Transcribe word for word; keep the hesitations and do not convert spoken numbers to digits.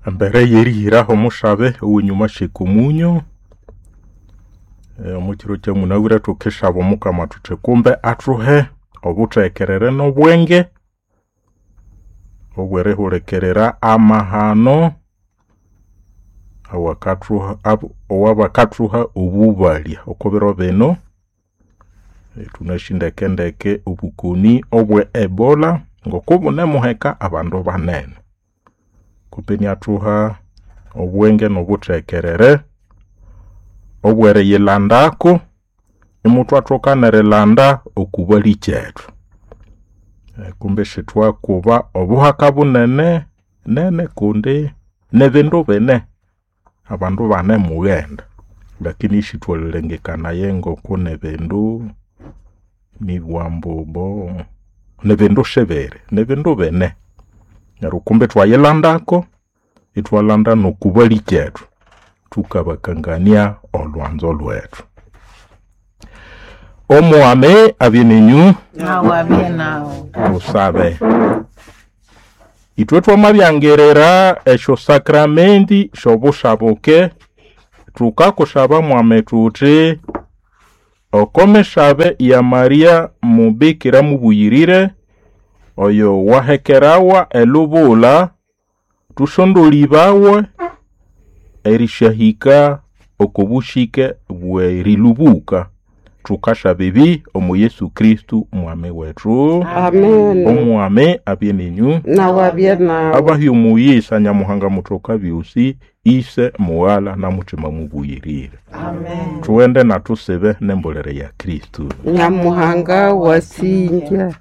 Embere yerihiraho omushabe owenyuma syeka omunyo, omukiro kyamunabwire thukisaba omukama thuthi kumbe athuhe obuthekerere n'obwenge obwerihulikirira amahano awakathuha owabakathuha obubalya oko biro bino. Thunasi ndekendeke obukoni obwe Ebola ngokubunemuheka abandu banene. Kumbe iniathuha obwenge n'obuthekerere obweriyilandako imuthwathoka nerilanda okubalikyethu. Kumbe isithwakuba obuhaka bunene nene kundi nibindu bine abandu banemughenda lakini isithwalhilengekanaya ngoku nibindu nibughambu bo nibindu sibiri, nibindu bine. Neryo kumbe ithwayilandako, ithwalanda n'okubalikyethu thukabakangania olhwanzo lhwethu. Omwami abye ninyu, Nawe abye nawe. Tusabe. Ithwe twamabyangirira esyo sakramenti sy'obushabuke, thukakusaba mwami thuthi oko misabe ya Maria mubikira mubuyirire oyo wahekerawa elubula thusondolibawe erisyahika oko bushike bw'erilubuka. Thukasaba ebi omu Yesu Kristo mwami wethu. Amen. Omwami abye ninyu, Nawe abye nawe. abahya omuyisa Nyamuhanga muthoka byosi, Ise, Mughala na Mutima mubuyirire. Amen. Thughende na thusibe n'embolere ya Kristo. Nyamuhanga wasinja.